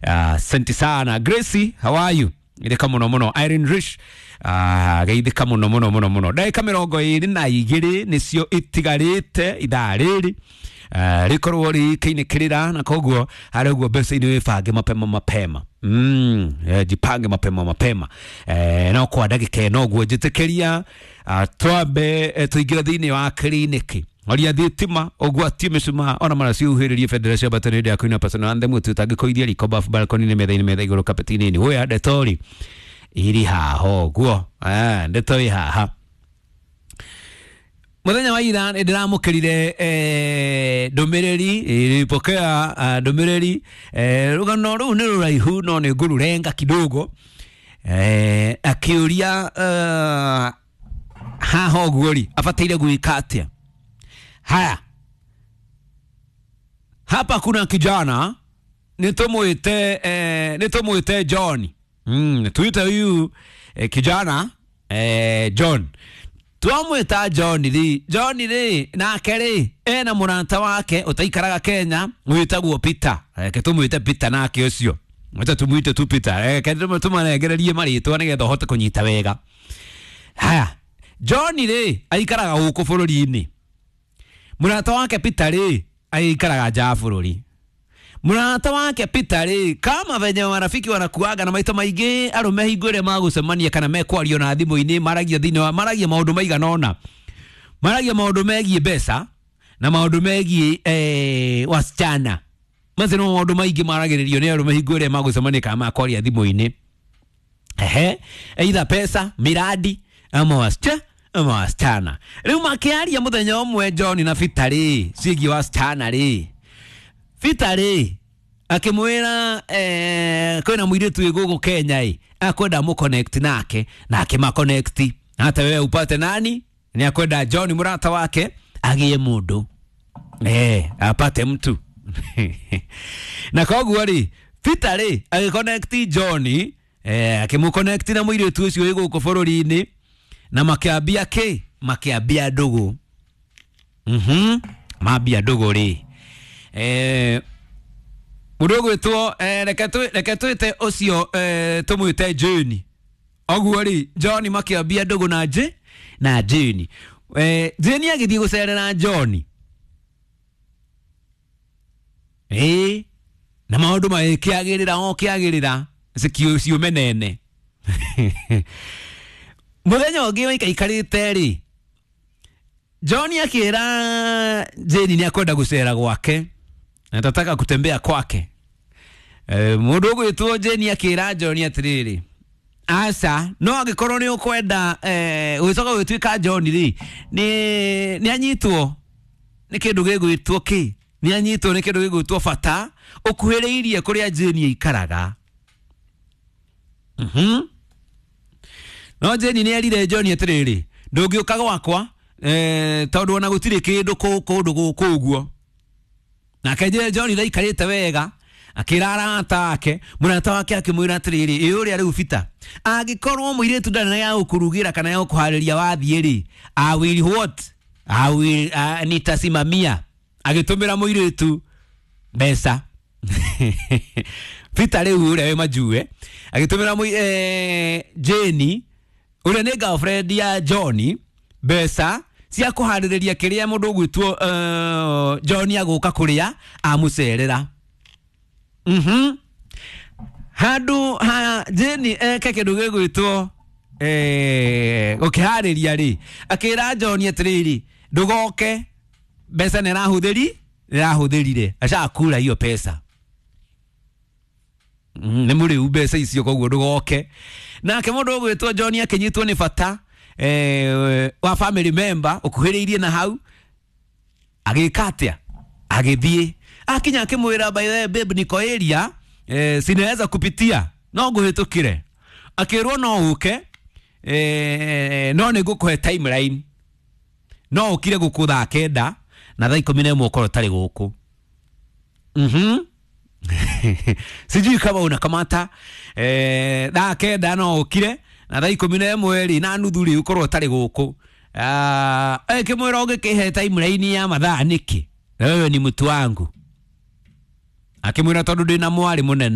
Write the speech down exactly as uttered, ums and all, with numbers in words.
Asante sana Gracie, how are you? Geithĩka mũno mũno Irene Rich, ah, geithĩka mũno mũno mũno mũno. Ndagĩka mĩrongo ĩrĩ na igĩrĩ nĩcio itigarĩte ithaa rĩrĩ uh, rĩkorwo rĩkĩinĩkĩrĩra, na koguo harĩ ũguo mbeca-inĩ wĩbange mapema mapema. Mm, eh, jipange mapema mapema. eh, no kwa ndagĩka ĩno ũguo njĩtĩkĩria uh, twambe eh, tũingĩre thĩinĩ wa kiriniki oria thitima ũgwatie mĩcumaa ona mara ciuhĩrĩrie bendera cia mbatano hĩndĩ ya kũina personal anthem tũtangĩkũithia riko bafu balcony-inĩ metha-inĩ metha igũrũ kapeti-inĩ wĩa ndetori iri haha ũguo. Ah, ndeto ĩ haha. Muthenya wa ira nĩ ndĩramũkĩrire eh, ndũmĩrĩri, nilipokea ah, ndũmĩrĩri. eh, rũgano rũu nĩ rũraihu no nĩ ngũrũrenga kidogo. eh, akĩũria uh, haha ũguo rĩ abataire gwĩka atĩa. Haya, hapa kuna kijana nĩtũmwĩte eh, nĩtũmwĩte John. mm, tuite huyu eh, kijana eh, John. Twamwĩta John rĩ, John rĩ nake rĩ ena mũrata wake ũtaikaraga Kenya wĩtagwo Peter. Reke tũmwĩte Peter nake ũcio, wacha tumwite tu Peter. Reke tũmanengererie marĩtwa nĩgetha ũhote kũnyita wega. Haya, John rĩ aikaraga gũkũ bũrũri-inĩ, mũrata wake Peter rĩ aikaraga nja ya bũrũri. Mũrata wake Peter rĩ, kama venye marafiki wanakuaga na maita maingĩ arũme hingo ĩrĩa magũcemania kana mekwario na thimũ-inĩ maragia thĩinĩ wa maragia maũndũ maigana ũna, maragia maũndũ megiĩ mbeca na maũndũ megiĩ eh, wasichana. Macio nĩmo maũndũ maingĩ maragĩrĩrio nĩ arũme hingo ĩrĩa magũcemania kana makwaria thimũ-inĩ. Ehe, either pesa, miradi ama wasichana ama wasichana. Rĩu makĩaria mũthenya ũmwe John na Peter rĩ ciĩgiĩ wasichana rĩ, Peter rĩ akĩmwĩra eh, kwĩna mũirĩtu wĩ gũkũ Kenya ĩ akwenda mũconnect nake, na akĩmaconnect hata wewe upate nani, ni akwenda John mũrata wake agĩe mũndũ eh, apate mtu. Na koguo rĩ Peter rĩ agĩconnect John eh, akĩmũconnect na mũirĩtu ũcio wĩ gũkũ bũrũri-inĩ, na makĩambia kĩ, makĩambia ndũgũ. Mhm, mambia ndũgũ rĩ eh, mũndũ ũgwĩtwo eh, reke twĩ- reke twĩte ũcio eh, tũmwĩte Jane. Ũguo rĩ John makĩambia ndũgũ na J na Jane. Eh, Jane agĩthiĩ gũcerera John ĩĩ, na maũndũ magĩkĩagĩrĩra o kĩagĩrĩra cikiũ ciume nene. Mũthenya ũngĩ waikaikarĩte rĩ John akĩra Jane nĩ akwenda gũcera gwake, atataka kutembea kwake. E, mũndũ ũgwĩtwo Jane akĩra John atĩrĩrĩ, aca no angĩkorwo nĩ ũkwenda eh, gũgĩcoka gũgĩtuĩka John rĩ nĩ nĩ anyitwo nĩ kĩndũ gĩgwĩtwo kĩ, nĩ anyitwo nĩ kĩndũ gĩgwĩtwo bata ũkuhĩrĩirie kũrĩa Jane aikaraga. Mhm. No Jane nĩ erire John atĩrĩrĩ, ndũngĩũka gwakwa eh, tondũ ona gũtirĩ kĩndũ kũ- kũndũ gũkũ ũguo. Nake je John ndaikarĩte wega akĩra arata ake, mũrata wake akĩmwĩra atĩrĩrĩ, ĩ ũrĩa rĩu Peter angĩkorwo mũirĩtu ndarĩ na ya gũkũrugĩra kana ya gũkũharĩria wathiĩ rĩ, I will what? I will, uh, nitasimamia. Agĩtũmĩra mũirĩtu mbeca. Peter rĩu ũrĩa wĩ majue agĩtũmĩra mũi- eh, Jane ũrĩa nĩ girlfriend ya John mbeca cia kũharĩrĩria kĩrĩa mũndũ ũgwĩtwo uh, John agũka kũrĩa amũcerera. Mhm. Handũ ha Jane eke kĩndũ gĩgwĩtwo eh, gũkĩharĩria rĩ, akĩra John atĩrĩrĩ, ndũgoke mbeca nĩ arahũthĩri nĩ arahũthĩrire ashakura hiyo pesa. Mm, nĩ mũrĩu mbeca icio koguo ndũgoke. Nake mũndũ ũgwĩtwo John akĩnyitwo nĩ bata eh, wa family member ũkuhĩrĩirie na hau, agĩka atĩa, agĩthiĩ akinya akĩmwĩra, by the way babe, niko area eh, sinaweza kupitia no ngũhĩtũkĩre. Akĩrwo no ũke eh, no nĩ ngũkũhe timeline, no ũkire gũkũ thaa kenda na thaa ikũmi na ĩmwe ũkorwo ũtarĩ gũkũ. Mhm. Sijui kama unakamata eh, thaa kenda no ũkire na thaa ikũmi na ĩmwe rĩ na nuthu rĩ ũkorwo ũtarĩ gũkũ. Ah, ĩkĩmwĩra ũngĩkĩhe timeline ya mathaa nĩkĩ, na wewe ni mtu wangu. Akĩmwĩra tondũ ndĩna mwarĩ mũnene.